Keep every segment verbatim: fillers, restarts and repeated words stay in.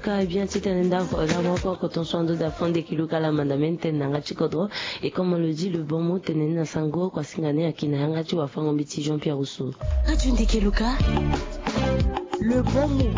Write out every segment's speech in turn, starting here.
Ka bien ti tene ndako la moko koton so ando da fond de kilo kala mandamene tene na nga ti kodro. Et comme on le dit, le bon mot tene ni na sango kua singa ni aki na yanga ti wafango mbi ti Jean Pierre Rousseau. Radio Ndeke Luka, le bon mot.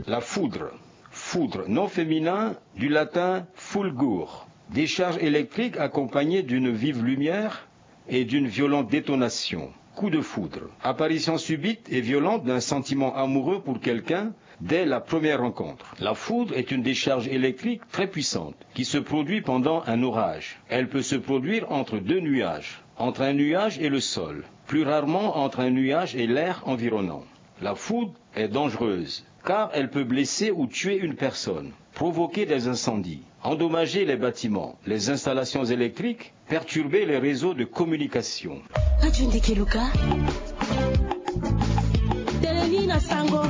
La foudre. Foudre, nom féminin du latin fulgur, décharge électrique accompagnée d'une vive lumière et d'une violente détonation. Coup de foudre. Apparition subite et violente d'un sentiment amoureux pour quelqu'un dès la première rencontre. La foudre est une décharge électrique très puissante qui se produit pendant un orage. Elle peut se produire entre deux nuages, entre un nuage et le sol, plus rarement entre un nuage et l'air environnant. La foudre est dangereuse car elle peut blesser ou tuer une personne, provoquer des incendies, endommager les bâtiments, les installations électriques, perturber les réseaux de communication. Radio Ndeke Luka. Tene ni na sango.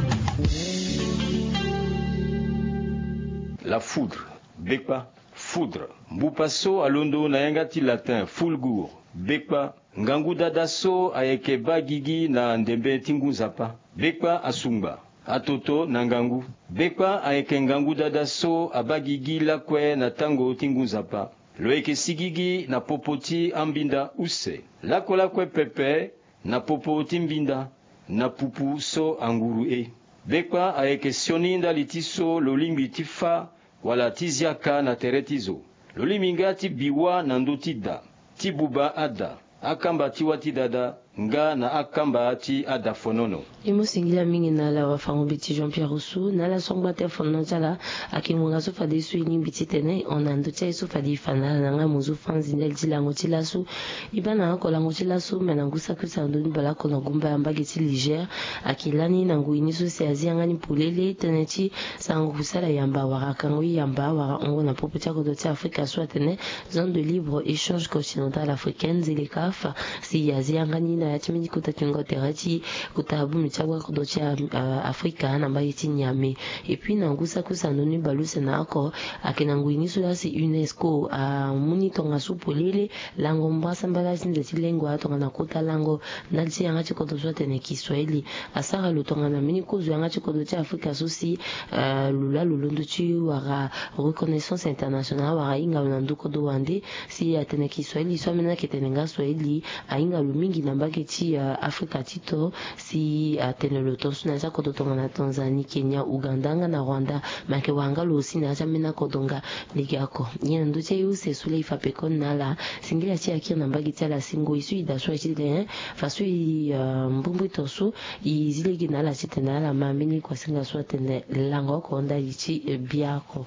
La foudre, bekpa, foudre. Mbupa so alondo na yanga ti latin fulgur, bekpa. Ngangu dada so ayeke baa gigi na ndembe ti ngu nzapa. Bekpa asungba atoto na ngangu. Bekpa ayeke ngangu dada so abaa gigi lakue na tango ti ngu nzapa. Lo yeke sigigi na popo ti ambinda use. Lakue lakue pepe na popo ti mbinda na pupu so anguru e. Bekpa ayeke sioni ndali ti so lo lingbi ti fâ wala ti zia ka na tere ti zo. Lo lingbi nga ti bi wâ na ndö ti da, ti buba ada, akamba ti wâ ti dada, nga na akamba ti ada fonono. E mu singila mingi na ala wafango mbi ti Jean Pierre Rousseau na ala so angba te fonono ti ala. Ayeke ngonga so fadeso e lingbi titene e hon na ndö ti aye so fade e fa na ala na nga mo zo fa nzi ndali ti lango ti laso. E baa na oko lango ti laso me na ngu saki use na ndö ni baleoko na gumba ya mbage ti Niger. Ayeke lani na ngoi ni so si azi yanga ni polele tënë ti sango kusala yamba wala kango ye yamba wala hongo na popo ti akodro ti Afrika so atene zone de libre échange continentale africaine ZLECAF. Si azi yanga ni na ya ti mbeni kota tingo tere ti kota bongbi ti awa kodro ti Afrika na mbage ti Niamey. Et puis na ngu saki use na ndö ni baleuse na oko ayeke na ngoi ni so laa si UNESCO amu ni tongaso polele lango mbrasambala ti nze ti lengo tongana kota lango ndali ti yanga ti kodro so atene kiswahili. Asara lo tongana mbeni kozo yanga ti kodro ti Afrika so si lo laa lo londo ti wara reconnaissance internationale wara ahinga lo na ndö kodro wande. Si atene kiswahili so ambeni ayeke tene nga swahili ahinga lo mingi na mbage ti Afrika ti to. Si atene lo tongaso na ya ti akodro tongana Tanzanie, Kenya, Ouganda nga na Rwanda. Me ayeke wara nga lo aussi na ya ti ambeni akodro nga. Lege oko nyen na ndö ti aye use so laa e fa pekoni na ala. Singila ti e akiri na mbage ti ala si ngoi so e daa so aye ti tene faso e mbrimbri tongaso e zi lege na ala titene ala ma mbeni kuasinga so atene lango oko ndali ti biaoko.